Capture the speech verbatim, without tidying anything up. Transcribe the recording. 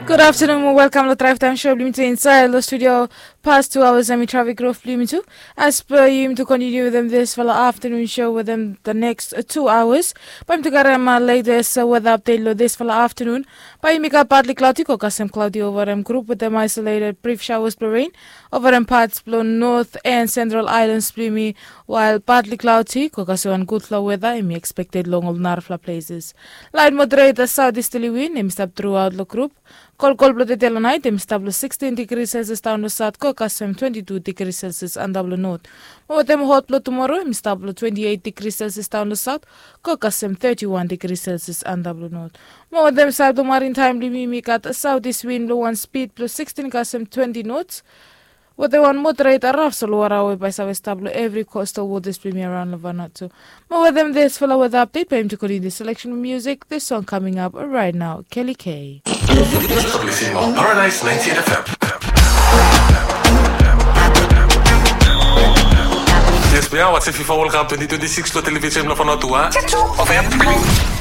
Gud aftenun mo welkam long Drive Time Show blong yumi tu insaed long studio. Pas tu aoas hemi trafik ruf blong yumi tu. As per yumi tu kontiniu wetem disfala aftenun show wetem the next tu aoas, bae yumi tu karem letes weta apdet long disfala aftenun. Bae yumi gat partly cloudy, go kasem cloudy ova hem grup wetem isolated brief showers blong rain ova hem parts blong north and central islands blong yumi. Wael partly cloudy, go kasem wan gudfala weta hemi expected long ol narafala places. Laet moderated southeasterly wind hemi stap truaot long grup. Kolkol blong tede long naet hemi stap long sixteen degrees Celsius daon long saot, go kasem twenty-two degrees Celsius antap long not. Mo wetem hot blong tumoro hemi stap long twenty-eight degrees Celsius daon long saot, go kasem thirty-one degrees Celsius antap long not. Mo wetem saed blong marin taem blong yumi, yumi gat southeast wind blong wan speed blong sixteen kasem twenty knots. Wetem wan moderated raf solwara we bae save stap long evri coastal waters blong yumi araon long Vanuatu. Mo wetem disfala weta apdet bae yumi tu kontiniu the selection of music. This song coming up right now, Kelly K. Paradise ninety-eight F M. Yes, we are watching FIFA World Cup twenty twenty-six lo television lo Vanuatu, ah. Of M.